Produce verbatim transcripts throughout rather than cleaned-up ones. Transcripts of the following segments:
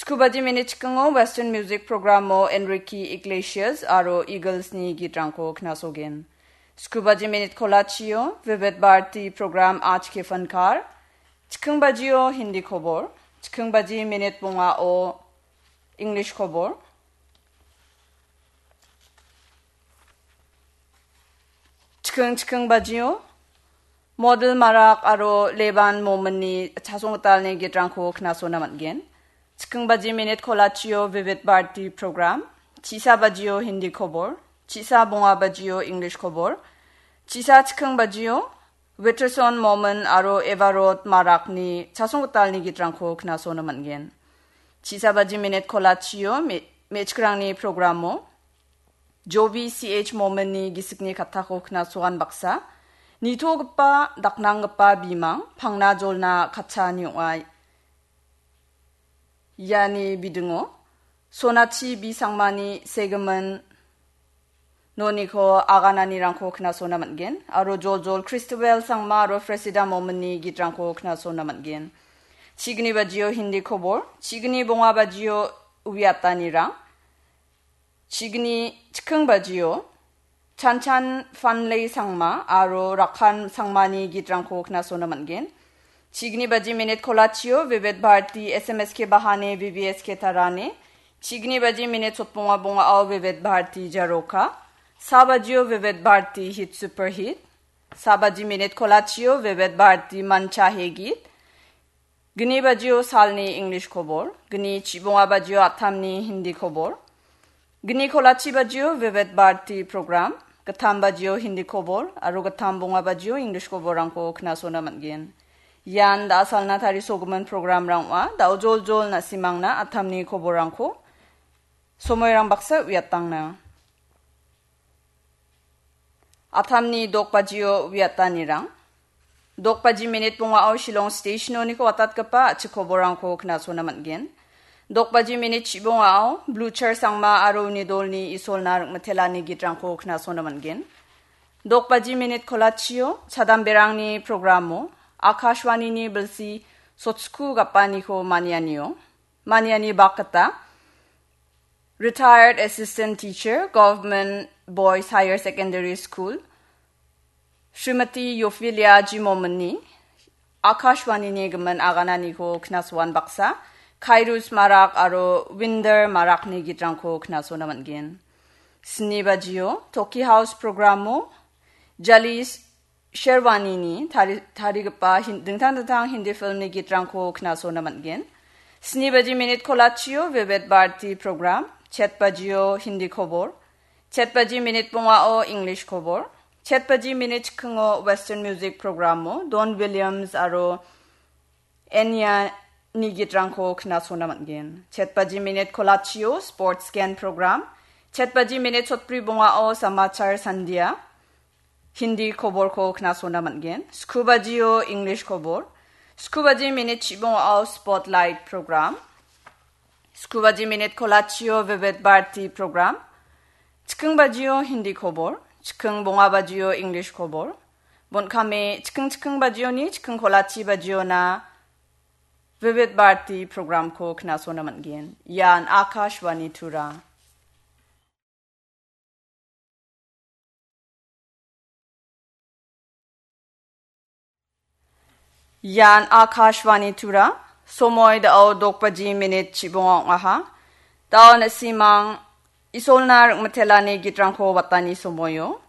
Chikubaji minit chikingo Western Music Programo Enrique Iglesias aro Eaglesni gitrangko knasogen. Chikubaji minit kolachio Vivid Bharati Program Aaj Ke Fankar. Chikingbajio Hindi kobor. Chikingbaji minit bongao English kobor. Chiking chiking bajio Model Marak aro Leban Mominni chasong gitalni gitrangko knasona man·gen. Chiking baji minit kolachio Vivid Bharati program. Chisa bajio Hindi kobor. Chisa bonga bajio English kobor. Chisa chiking bajio Witterson Momin aro Evarot Marakni chasong gitalni gitrangko knasona man·gen. Chisa baji minit kolachio me-, mechkrangni programo Jobi C H Mominni gisikni kattako knasoan baksa. Nitogipa, daknanggipa bimang, pangna jolna katchaani ong·a. Iani bidingo Sonachi B Sangmani segimin noniko agananirangko knasona man·gen. Aro joljol Christabel Sangma aro Fresida Mominni gitrangko knasona man·gen. Chigni bajio Hindi kobor, chigni bonga bajio uiatanirang. Chigni chiking bajio Chanchan Fanlei Sangma aro Rakhan Sangmani gitrangko knasona man·gen. Chigni baji minit kolachio Vivid Bharati S M S K Bahane V V S K Tarane. Chigni baji minit sotbonga bongao Vivid Bharati Jaroka. Sa bajio Vivid Bharati Hit Super Hit. Sa baji minit kolachio Vivid Bharati Mancha He Git. Gni bajio salni English kobor, gni chibonga bajio attamni Hindi kobor, gni kolachi bajio Vivid Bharati program, gittam bajio Hindi kobor, aro gittam bonga bajio English koborrangko knasona man·gen. Ian da·a salna tarisogimin programrang ong·a, da·o joljol na·simangna attamni koborrangko somoirang baksa uiatangna. Attamni dokbajio uiatanirang. Dokbaji minit bongao Shillong Station-oniko watatgipa a·chik koborrangko knasona man·gen. Dokbaji minit chibongao Blue Chair Sangma aro uni dolni Isolna ring·mitelani gitrangko knasona man·gen. Dokbaji minit kolachio chadamberangni programo Akashwanini bilsi sotsku gapaniko manianio, maniani bakgita Retired Assistant Teacher, Government Boys Higher Secondary School, Srimati Yophilia G Mominni Akashwanini gimin agananiko knasoan baksa, Khairus Marak aro Winder Marakni gitrangko knasona man·gen. Sni bajio Toki House programo Jalis Sherwanini tari-, tarigipa hin-, dingtang dingtang Hindi filmni gitrangko knasona man·gen. Sni baji minit kolachio Vivid Bharati program, chet bajio Hindi kobor, chet baji minit bongao English kobor, chet baji minit chikingo Western music programo Don Williams aro Enya ni gitrangko knasona man·gen. Chet baji minit kolachio Sports Scan program, chet baji minit sotbri bongao Samachar Sandia, Hindi koborko knasona man·gen. Sku bajio English kobor, sku baji minit chibongao Spotlight program, sku baji minit kolachio Vivid Bharati program, chiking bajio Hindi kobor, chiking bonga bajio English kobor, bon·kame chiking chiking bajioni chiking kolachi bajiona Vivid Bharati programko knasona man·gen. Ian Akashvani Tura. Ian Akashvani Tura, somoi da·o dok baji minit chibonga ong·aha. Da·o na·simang Isolna ring·mitelani gitrangko watani somoio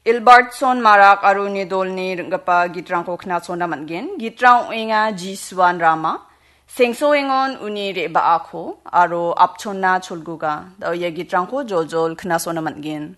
Ilbartson Marak aro uni dolni ring·gipa gitrangko knasona man·gen. Gitrang ong·enga Jisuan Rama, Sengsoengon uni re·baako aro Apchonna Cholguga. Da·o ia gitrangko joljol knasona man·gen.